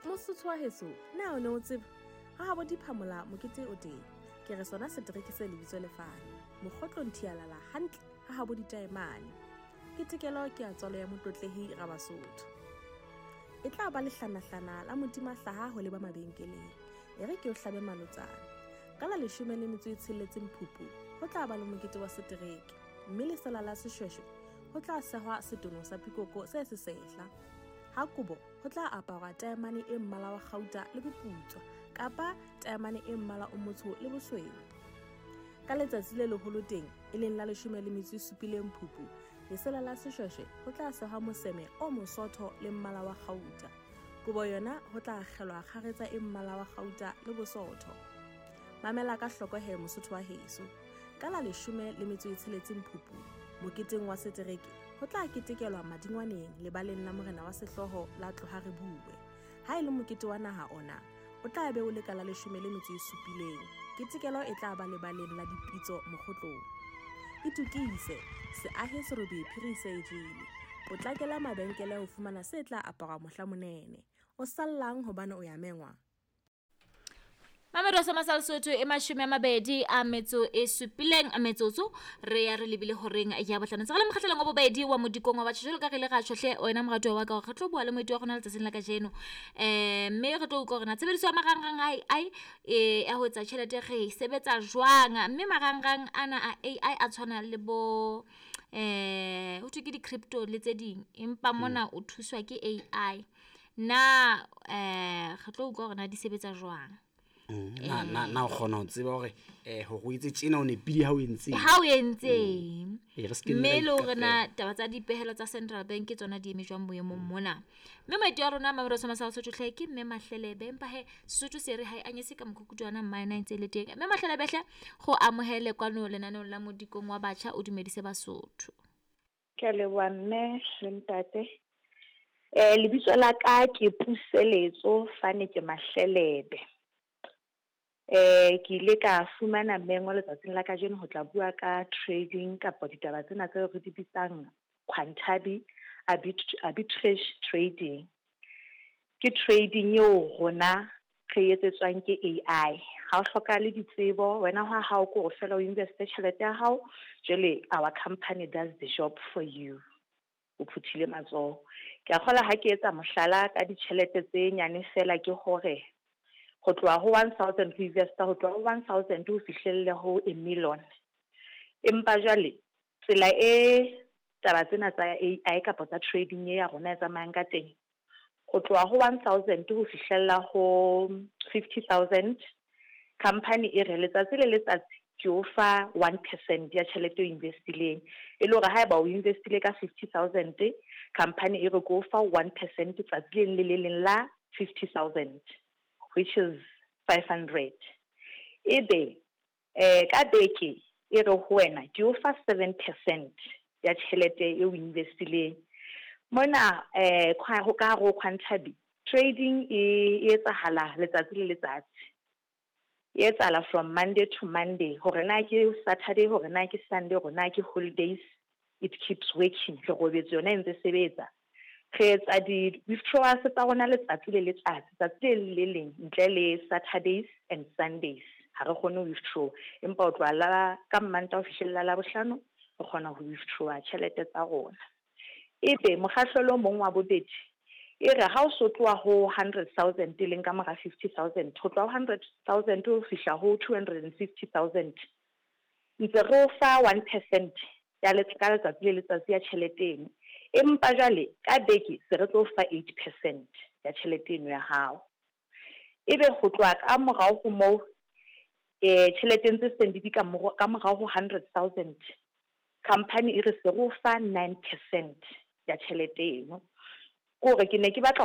Mosotho wa heso, na o ne o tseba ha habo diphamola mokete o teng? Ke re sona setereke se lebitso lefane mokgotlong thialala hantle ha habo ditaemane. Ketekelo ke ya tswalo ya Motlotlehi Rabasotho. E tla ba lehlanahlana la modima hlaha ho leba mabenkeleng. E re ke o hlabe malotsana. Ka la 16 Phupu ho tla ba le mokete wa setereke, mme lesela la seshweshwe ho tla sehwa setono sa pikoko se sesehla. Ha kobo ho tla aparwa taemane e mmala wa kgauta le boputswa kapa taemane e mmala o motsho le bosweu. Ka letsatsi le leholo teng, e leng la 17 Phupu, lesela la seshweshwe ho tla sehwa moseme o mosotho le mmala wa kgauta. Kobo yona ho tla akgelwa kgaretsa e mmala wa kgauta le bosotho. Mamela ka hloko he Mosotho wa heso. Ka la 16 Phupu, moketeng wa setereke, ho tla ketekelwa madingwaneng lebaleng la morena wa sehlooho la Tloha Re Bue. Ha e le mokete wa naha ona, o tla be o le ka la 17. Ketekelo e tla ba lebaleng la dipitso mokgotlong. Itokise, se ahe serobe phiri se e jele. Potlakela mabenkele ho fumana se tla aparwa mohla monene. O sallang hobane o ya mengwa? Mamedo sa masal Sotho e 27 metsotso re ya re lebile horeng ya bohlano. Tse re le mokgahlelong wa bobedi wa modikong wa batjha jwalo ka re ile ra tjhohle wena moratuwa wa ka hore re tlo bua le moeti wa rona letsatsing la kajeno. Mme re tlo utlwa hore na tshebediso ya marangrang a AI ya ho etsa tjhelete re e sebetsa jwang, mme marangrang ana a AI a tshwana le bo ho thwe ke di-crypto le tse ding, empa mona o thuswa ke AI. Na re tlo utlwa hore na di sebetsa jwang. Na o kgona ho tseba hore hore o etse tjena o nepile ha o entseng. Ha o entseng. Re se ke Mme ra le hore na ikapela. taba tsa dipehelo tsa Central Bank ke tsona di eme jwang boemong mona. Mme moeti wa rona Mamelodi sa Masala Sotho hle ke Mme Mahlelebe, empa he Sesotho se re ha e anyese ka mokhukutwana mma yena e ntse e le teng. Mme Mahlelebe hle go amohele kwano lenaneong la modikong wa batjha, o dumedise Basotho. Ke a leboha mme le ntate. Lebitso la ka ke Puseletso Fane ke Mahlelebe. Ke ile ka fumana mengo letsatsing la kajeno ho tla bua ka trading kapa ditaba tsena tseo re di bitsang Quantabi arbitrage trading. Ke trading eo rona re etsetswang ke AI. Ha o hlokahale ditsebo, wena ha hao ke hore feela o investe tjhelete ya hao, jwale our company does the job for you. O phuthile matsoho. Ke a kgolwa ha ke etsa mohlala ka ditjhelete tse nyane feela ke hore ho tloha ho 1,000 ho investa, ho tloha ho 1,000 ho fihlelle ho a million. Empa jwale tsela e taba tsena tsa AI kapa tsa trading e ya rona e tsamayang ka teng, ho tloha ho 1,000 ho fihlella ho 50,000, company e re letsatsi le letsatsi ke o fa 1% ya tjhelete o investileng. E le hore haeba o investile ka 50,000, company e re ke o fa 1% tsatsi le leng le le leng la 50,000, which is 500. Ebe ka beke e re ho wena ke o fa 7% ya tjhelete e o investileng. Mona ho ka hare ho Quantabi trading e etsahala letsatsi le letsatsi. E etsahala from Monday to Monday, hore na ke Saturday, hore na ke Sunday, hore na ke holidays, it keeps working. Re robetse yona e ntse sebetsa. Re etsa di-withdrawals tsa rona letsatsi le letsatsi, tsatsi le le leng ntle le Saturdays and Sundays. Ha re kgone ho withdraw, empa ho tloha la ka Mmantaha ho fihlella Labohlano re kgona ho withdraw tjhelete tsa rona. Ebe mokgahlelo o mong wa bobedi e re ha o so tloha ho 100,000 e leng ka mora 50,000, ho tloha ho 100,000 ho fihla ho 250,000, ntse re o fa 1% ya ka letsatsi le letsatsi ya tjhelete eno. Empa jwale ka beke se re tlo fa 8% ya tjhelete eno ya hao. Ebe ho tloha ka morao ho moo, tjhelete ntse seng di ka morao ho 100,000, company e re se re o fa 9% ya tjhelete eno. Ke hore ke ne ke batla